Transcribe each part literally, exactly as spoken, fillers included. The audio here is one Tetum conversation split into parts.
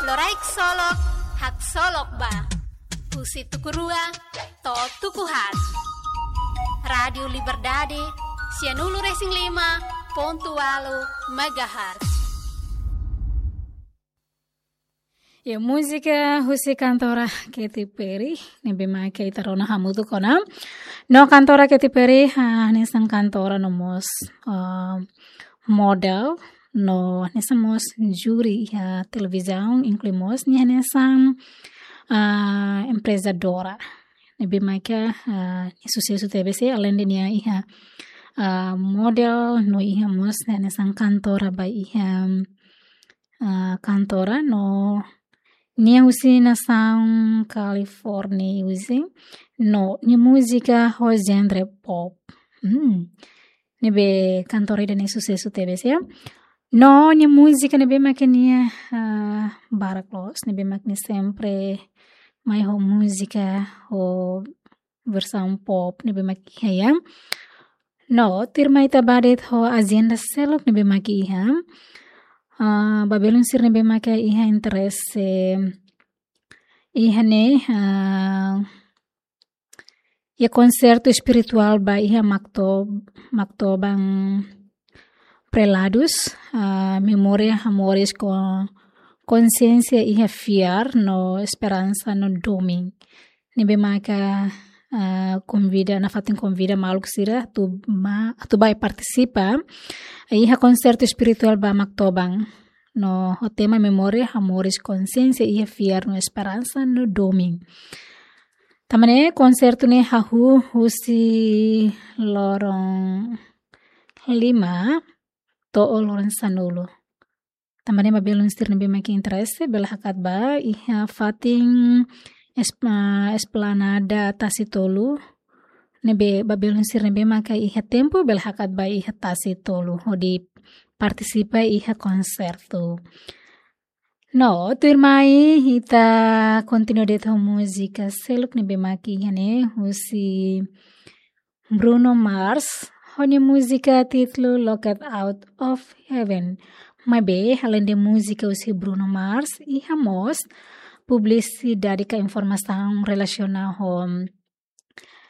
Loraik Solok, haksolok ba. Husi tuku rua to'o tuku haat. Rádiu Liberdade, sianulu-resin-lima pontu ualu megahertz. Ya, múzika husi kantora Katy Perry, ne'ebé mak ita rona hamutuk ona. No kantora Katy Perry, ah, hanesan kantora no mós, ah, model, no hanesan mós júri iha televizaun, inklui mós nia hanesan, ah, emprezadora. Ne'ebé mak, ah, nia susesu tebes, aleinde nia iha, ah, model, no iha mós nia hanesan kantora ba iha, ah, kantora, no nia husi nasaun California husi, no nia múzika ho genre pop. Hmm. Ne'ebé kantora ida ne'e susesu tebes, ya. No nia múzika ne'ebé mak nia, ah, barak loos, ne'ebé mak nia sempre mai ho múzika ho versaun pop ne'ebé mak iha, ya. No, tuirmai ita ba de'it ho ajenda seluk ne'ebé mak iha. Ah, ba belun sira ne'ebé mak iha interese iha ne'e, ah, iha konsertu espirituál ba iha Makto-, Maktoban Preladus, ah, memória, hamoris ho konsiénsia iha fiar no esperansa no domin. Ne'ebé maka, ah, konvida, nafatin konvida maluk sira atu ba, atu bá partisipa iha konsertu espirituál ba Maktoban. No ho tema memória, hamoris, konsiénsia iha fiar no esperansa no domin. Tanba ne'e konsertu ne'e hahú husi loron lima to'o loron sanulu. Tanba ne'e ba belun sira ne'ebé mak interese, bele hakat ba iha fatin es-, ah, Esplanada Tasi Tolu. Ne'ebé ba belun sira ne'ebé mak iha tempu, bele hakat ba iha Tasi Tolu hodi partisipa iha konsertu. No, tuirmai ita kontinua de'it ho múzika seluk ne'ebé mak iha ne'e husi Bruno Mars, ho nia múzika títulu Locked Out of Heaven. Maibé, aleinde múzika husi Bruno Mars, iha mós publisidade ka informasaun relasiona ho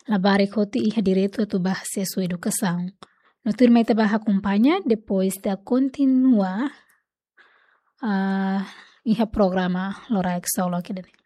labarik hotu iha direitu atu ba asesu edukasaun. No tuirmai ita bá akompaña, depois ita kontinua, ah, iha programa Loraik Solok ida-ne'e.